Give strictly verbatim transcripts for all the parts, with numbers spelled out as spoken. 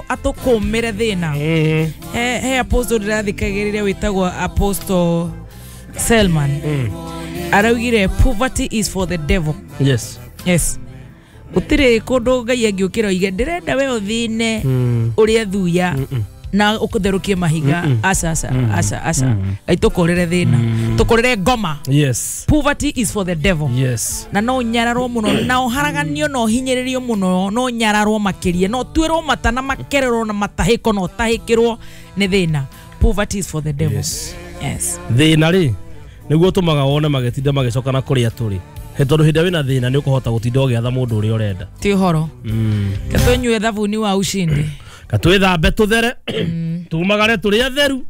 atũkũmĩre thĩna. He apostle ndĩrathikagĩrĩria wĩtagwo Apostle Selman. Araugire poverty is for the devil. Yes. Yes. Gũtirĩ kũndũ Ngai angĩũkĩra oige ndĩrenda we ũthĩne ũrĩa thuya na ũkũtherũkie mahiga. Aca aca aca aca. Ngai tũkũrĩre thĩna. Tũkũrĩre ngoma. Yes. Poverty is for the devil. Yes. Na no nyararwo mũno na ũharaganio na ũhinyĩrĩrio mũno no nyararwo makĩria no tuĩrwo mata na makererwo na matahĩko na ũtahĩkĩrwo nĩ thĩna. Poverty is for the devil. Yes. Yes. Thĩna rĩ nĩguo ũtũmaga wone magĩtinda magĩcoka na kũrĩa tũrĩ. Tondũ hĩndĩ wĩna thĩna nĩ ũkũhota gũtinda ũgĩatha mũndũ ũrĩa ũrenda. Ti ũhoro. Katũnyue thabuni wa ushindi. Katwĩthambe tũthere tumagare tũrĩ atheru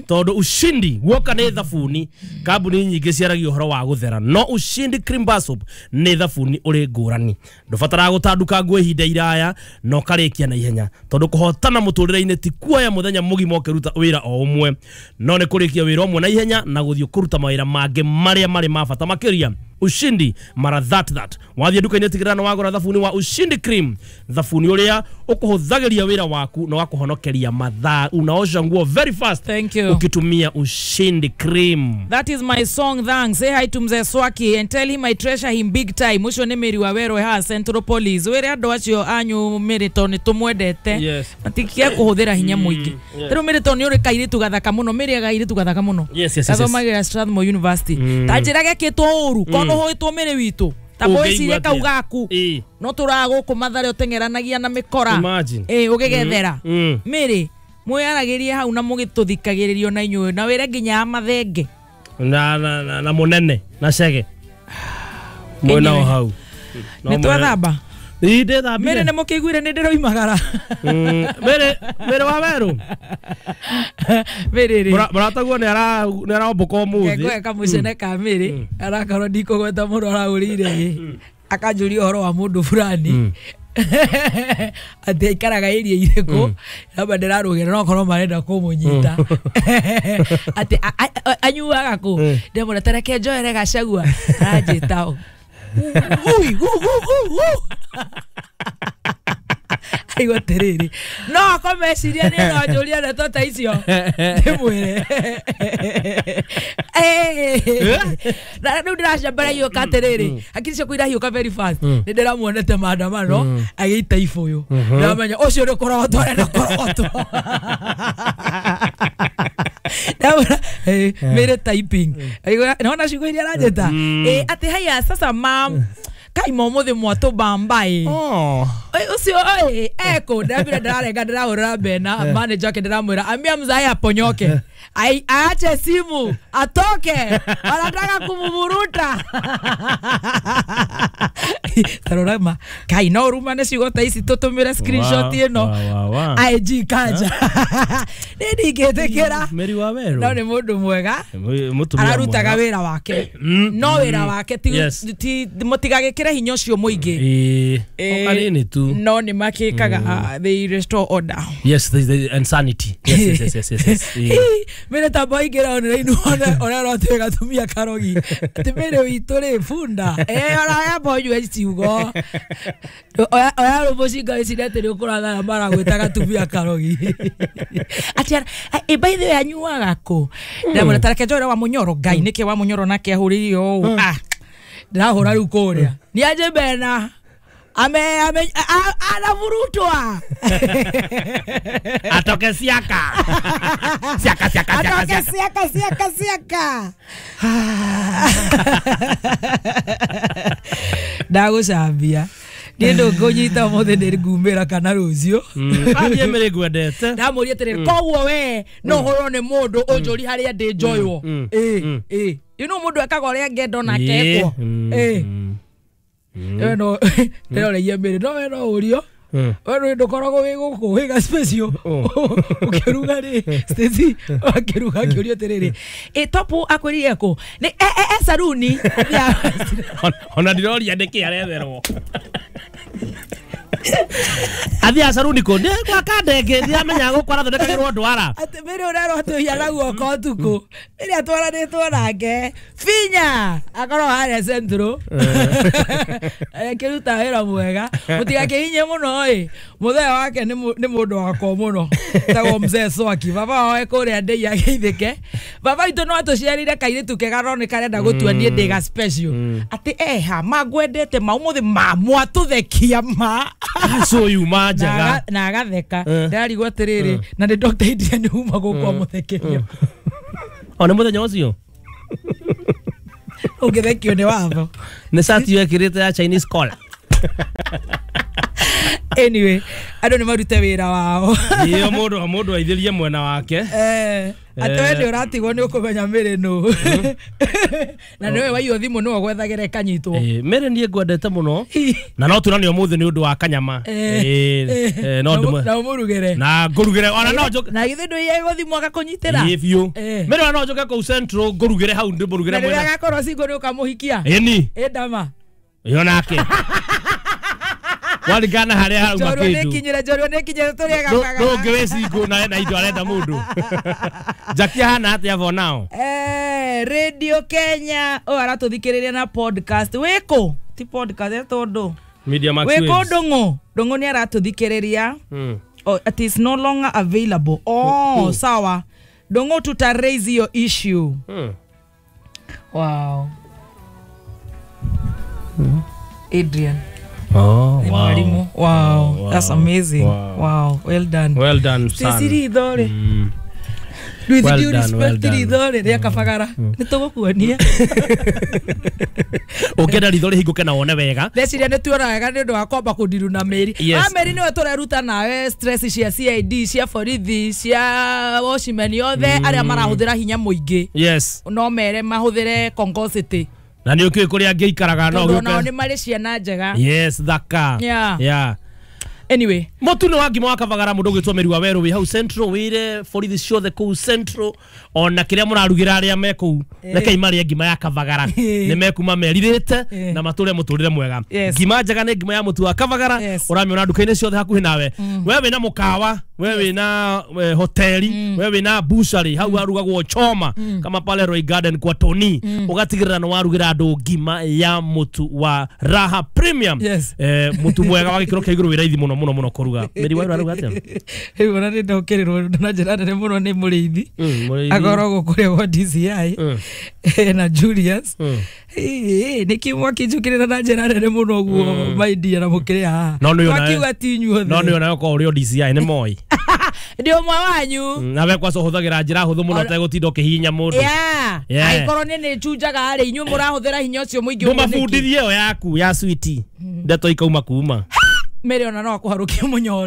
tondũ ushindi guoka nĩ thabuni. Kambuni nyingĩ ciaragia ũhoro wa gũthera no Ushindi Cream Bar Soap nĩ thabuni ũrĩ ngũrani. Ndũbataraga gũtanduka nguo ihinda iraya na ũkarĩkia na ihenya tondũ kũhotana mũtũrĩre-inĩ ti kuoya mũthenya mũgima ũkĩruta wĩra o ũmwe no nĩ kũrĩkia wĩra ũmwe na ihenya na gũthiĩ kũruta mawĩra mangĩ marĩa marĩ ma bata makĩria. Ushindi mara that that wathiĩ nduka-inĩ tigĩrĩra nĩ wagũra thabuni wa Ushindi Cream, thabuni ũrĩa ũkũhũthagĩria wĩra waku na wakũhonokeria mathaa. Unaosha nguo very fast. Thank you. Ukitumia Ushindi Cream. That is my song. Thanks. Say hi to Mzee Swaki and tell him I treasure him big time. Ucio nĩ Mary wa Werũ ha Central Police. Wĩre andũ acio anyu Mary to nĩ tũmwendete. Yes. Matikia kũhũthĩra hinya mũingĩ. Rĩu Mary to nĩ ũrĩ kairĩtu gathaka mũno. Mary agairĩtu gathaka mũno. Yes, yes, yes. Gathomagĩra Strathmore University. Ta njĩra gekĩtwo ũru kono hũĩtwo Mary witũ. Ta mwĩcirie kau gaku no tũragũkũ Mathare ũteng'eranagia na mĩkora ĩ ũgĩgethera Mary mwĩyaragĩrie hau na mũgĩtũthikagĩrĩrio na inyuĩ na wĩre nginya mathenge na na na, na mũnene na cege mwena o hau nĩ twathamba. Ĩ ndĩthambire. Mary nĩ mũkĩiguire nĩ ndĩroimagara. Mary Mary wa Werũ Mary rĩ mũrataguo nĩ ara nĩ arombũka ũmũthĩ. Ngweka kamũcene ka Mary arakorwo ndikũgweta mũndũ arahũrĩire ĩ akanjũria ũhoro wa mũndũ fulani atĩ aikaraga area irĩkũ namba ndĩrarũgĩra no korwo marenda kũmũnyita atĩ anyuaga kũ ndĩmwĩra ta reke njoere Gachagua aranjĩta ui gu gu gu gu aigua atĩrĩrĩ no akomeciria nĩ no njũria ndeto ta icio ndĩmwĩre na rĩu ndĩracambara hiũka atĩrĩrĩ hakiri ciakwa irahiũka very fast nĩ ndĩramuonete maandamano agĩita ibũyũ ndĩramenya ũcio nĩ kũrogotwo arenda kũrogotwo. Mary typing naona ciugo iria aranjĩta atĩ haya sasa mam kai momuthi mwatũbamba ĩ ũcio ĩ eko ndĩramwĩra ndĩrarenga ndĩrahũrĩra Bena manager wake ndĩramwĩra ambia mzae aponyoke ai aache simu atoke anataka kumuvuruta. Tarora kai no ruma nĩ ciugo ta ici tũtũmĩre screenshot ĩno I G kanja nĩ ndingĩtĩkĩra. Mary wa Werũ no nĩ mũndũ mwega ararutaga wĩra wake no wĩra wake ti mũtigagĩkĩre hinya ũcio mũingĩ ĩ kanini tu no nĩ makĩkaga they restore order. Yes, the, the insanity. Yes, yes, yes, yes, yes. Mary ta boingĩra online wone ũrĩa ũratuĩka gatumia karogi atĩ Mary witũ rĩ bunda ĩ oraya bonyue ciugo oya oya rũmũcinga wĩcirie atĩ nĩ ũkũrathara maragwĩta gatumia karogi atĩ ĩ by the way anyuaga kũ ndamwĩra ta reke njoere wa Mũnyoro Ngai nĩkĩ wa Mũnyoro nake ahũrĩire ũũ ah ndĩrahũra rĩu kũrĩa nĩ anjĩ Bena ame ame anavurutwa atoke siaka siaka siaka atoke siaka siaka siaka ndagũcambia niĩ ndũkũnyita ũmũthĩ nĩ ngumĩra kana rũciũ athiĩ Mary ngwendete ndamũria atĩrĩrĩ koguo we no ũhũrwo nĩ mũndũ ũnjũri harĩa ndĩ njoywo ĩ ĩ you know mũndũ ekaga ũrĩa angĩenda onake ekwo ĩ we no ndĩroregia Mary no we no ũrio we ndũkoragwo wĩ gũkũ wĩ ga special ũkĩruga rĩ Stacy akĩruga akĩũria atĩrĩrĩ ĩ topu akwĩrire kũ nĩ e e saruni ona ndiroria nĩkĩ aretherwo. Athiaga caruni kũ? Nĩ gwaka ndenge ndiramenya gũkũ arathondekagĩrwo ndwara. Atĩ Mary ũrerwo atĩ ũhiana guoko ũtukũ. Mary atwaranĩtwo nake Finya akorwo harĩa Central akĩruta wĩra mwega. Mũtigakĩhinye mũno ĩ, mũthee wake nĩ mũndũ wakwa mũno, etagwo Mzee Swaki. Baba wao e kũrĩa ndei ageithĩke. Baba witũ no atũciarire kairĩtu kega no nĩ karenda gũtua niĩ ndĩ ga special. Atĩ eha ma ngwendete ma ũmũthĩ ma mwatũthekia ma Aco yuma njega na agatheka. Ndarigwo atĩrĩrĩ, na nĩ Doctor Adrian uma gũkũ amũthekeria. O nĩ mũthenya ũcio ũngĩthekio nĩ watho. Nĩ cati wekĩrĩte ya Chinese collar. Anyway, andũ nĩ marute wĩra wao. Iyo mũndũ mũndũ aithĩrie mwena wake. Eh, atĩ we nĩ ũratigwo nĩ ũkũmenya Mary nũ. Na nĩwe waiywo thimũ nĩwe gwethagĩra ĩkanyitwo. Eh, Mary niĩ ngwendete mũno. Na no tuonane ũmũthĩ nĩ ũndũ wa kanyama. Eh, no ndũmwe. Na ũmũrugĩre. Na ngũrugĩre ona no njũke. Na githĩ ndũiye gũthimwo agakũnyitĩra? Ĩ biũ. Mary ona no njũke kũu Central ngũrugĩre hau ndĩmũrugĩre mwena. Na rĩrĩa agakorwo single nĩ ũkamũhikia? Ĩni. Ĩ ndama. Ĩyo nake. Waringana harĩa harauma kĩndũ. Nĩkinyĩre njorua nĩkinyĩre tũrĩe gabagara. Ndũngĩ wĩ single na ena indo arenda mũndũ. Jackie ahana atĩa for now? Eh, Radio Kenya o aratũthikĩrĩria na podcast. Wĩkũ? Ti podcast etwo ndũ. Media Max Waves. Wĩkũ Ndũng'ũ? Ndũng'ũ nĩ aratũthikĩrĩria. Oh, it is no longer available. Oh, sawa. Ndũng'ũ tuta raise your issue. Wow. Adrian. Oh, wow. Wow. Wow, that's amazing. Wow. Wow, well done. Well done, son. Sisiri ithore. With well due done, respect well done. Ithore rĩa kabagara. Nĩ tũgũkuonia. Ũngĩenda ritho rĩhingũke na wone wega. Ndeciria nĩ tuona wega nĩ ũndũ wa kwamba kũndiru na Mary. Yes. A Mary nĩwe tũreruta nawe stress cia C I D, cia borithi, cia watchman othe arĩa marahũthĩra hinya mũingĩ. Yes. No mere mahũthĩre Congo City. Na nĩ ũkĩũĩ kũrĩa angĩikaraga no gũke. Nao nĩ marĩ ciana njega. Yes, thaka. Yeah. Yeah. Anyway, mũtu nĩ wa ngima wa kabagara mũndũ ũgwĩtwo Mary wa Werũ wĩ hau Central wĩre borithi ciothe kũu Central ona kĩrĩa mũrarugĩra arĩa me kũu rekei marĩe ngima ya kabagara nĩ mekuma merirĩte na matũre mũtũrĩre mwega. Ngima njega nĩ ngima ya mũtu wa kabagara ũramĩona nduka-inĩ ciothe hakuhĩ nawe. We wĩna mũkawa, we wĩna hoteli, we wĩna butchery hau harugagwo choma kama pale Roy Garden kwa Tony ũgatigĩrĩra nĩ warugĩra andũ ngima ya mũtu wa Raha Premium. Eh, mũtu mwega wa gĩkĩro kĩa igũrũ wĩ raithi mũno mũno mũno kũruga. Mary wa aruga atĩa? Rĩu ona nĩ ndokĩrĩrwo na njĩra nene mũno nĩ mũrĩithi. Akoragwo kũrĩa gwa D C I na Julius. Nĩkĩ mwakĩnjũkĩrĩra na njĩra nene mũno ũguo my dear na mũkĩrĩ haha? Mwakiuga ti inyuothe. No nĩ ona okorwo ũrĩ o D C I nĩ moi. Ndĩ ũmwe wanyu. Nawe kwaca ũhũthagĩra njĩra hũthũ mũno ũtegũtinda ũkĩhihinya mũndũ. Angĩkorwo niĩ nĩ njunjaga rĩ, inyuĩ mũrahũthĩra hinya ũcio mũingĩ ũguo nĩkĩ? Ndũmabundithie ĩyo yaku ya switi. Ndeto ikauma kuma. Mary ona no akũharũkie mũnyore.